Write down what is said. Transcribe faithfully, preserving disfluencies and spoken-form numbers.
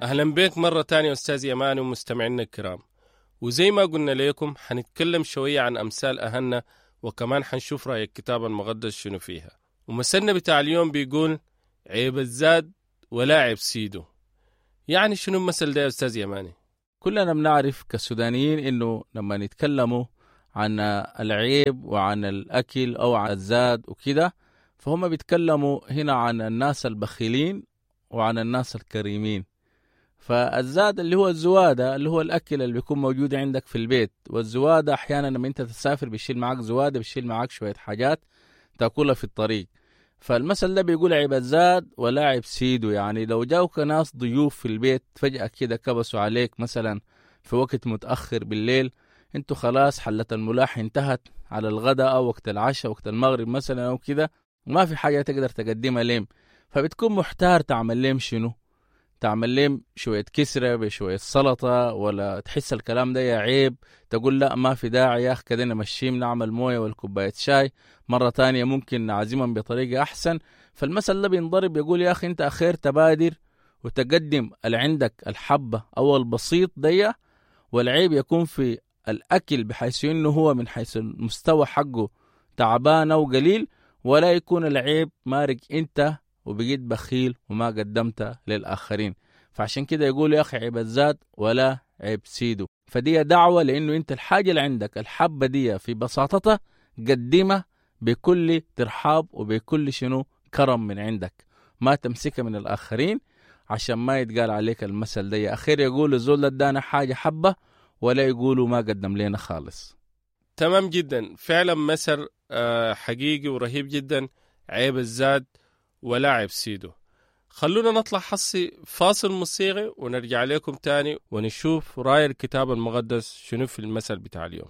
أهلا بك مرة تانية أستاذ يماني ومستمعينا الكرام. وزي ما قلنا لكم حنتكلم شوية عن أمثال أهلنا، وكمان حنشوف رأي الكتاب المقدس شنو فيها. ومثلنا بتاع اليوم بيقول عيب الزاد ولا عيب سيده. يعني شنو المثل ده يا أستاذ يماني؟ كلنا بنعرف كسودانيين إنه لما نتكلموا عن العيب وعن الأكل أو عن الزاد وكده، فهم بيتكلموا هنا عن الناس البخيلين وعن الناس الكريمين. فالزاد اللي هو الزوادة، اللي هو الأكل اللي بيكون موجود عندك في البيت، والزوادة أحيانا لما أنت تسافر بيشيل معاك زوادة، بيشيل معاك شوية حاجات تأكلها في الطريق. فالمثل ده بيقول عيب الزاد ولا عيب سيده. يعني لو جاوك ناس ضيوف في البيت فجأة كده كبسوا عليك مثلا في وقت متأخر بالليل، انتوا خلاص حلة الملاح انتهت على الغداء أو وقت العشاء وقت المغرب مثلا أو كده، وما في حاجة تقدر تقدمها لهم، فبتكون محتار تعمل لهم شنو. تعمل لهم شوية كسرة بشوية سلطة، ولا تحس الكلام ده يا عيب، تقول لا ما في داعي يا أخ كده نمشيهم نعمل موية والكوباية شاي، مرة تانية ممكن نعزمهم بطريقة أحسن. فالمثل ده بينضرب يقول يا أخي أنت أخير تبادر وتقدم اللي عندك الحبة أو البسيط دي، والعيب يكون في الأكل بحيث إنه هو من حيث المستوى حقه تعبان أو قليل، ولا يكون العيب مارق أنت وبقيت بخيل وما قدمت للآخرين. فعشان كده يقول يا أخي عيب الزاد ولا عيب سيده. فدي دعوة لأنه أنت الحاجة اللي عندك الحبة دي في بساطتها قدمها بكل ترحاب وبكل شنو كرم من عندك، ما تمسكها من الآخرين عشان ما يتقال عليك المثل ده. أخير يقول الزول ادانا حاجة حبة ولا يقولوا ما قدم لنا خالص. تمام جدا، فعلا مثل حقيقي ورهيب جدا، عيب الزاد ولا عيب سيده. خلونا نطلع حصي فاصل موسيقي ونرجع لكم تاني ونشوف رأي الكتاب المقدس شنو في المثل بتاع اليوم.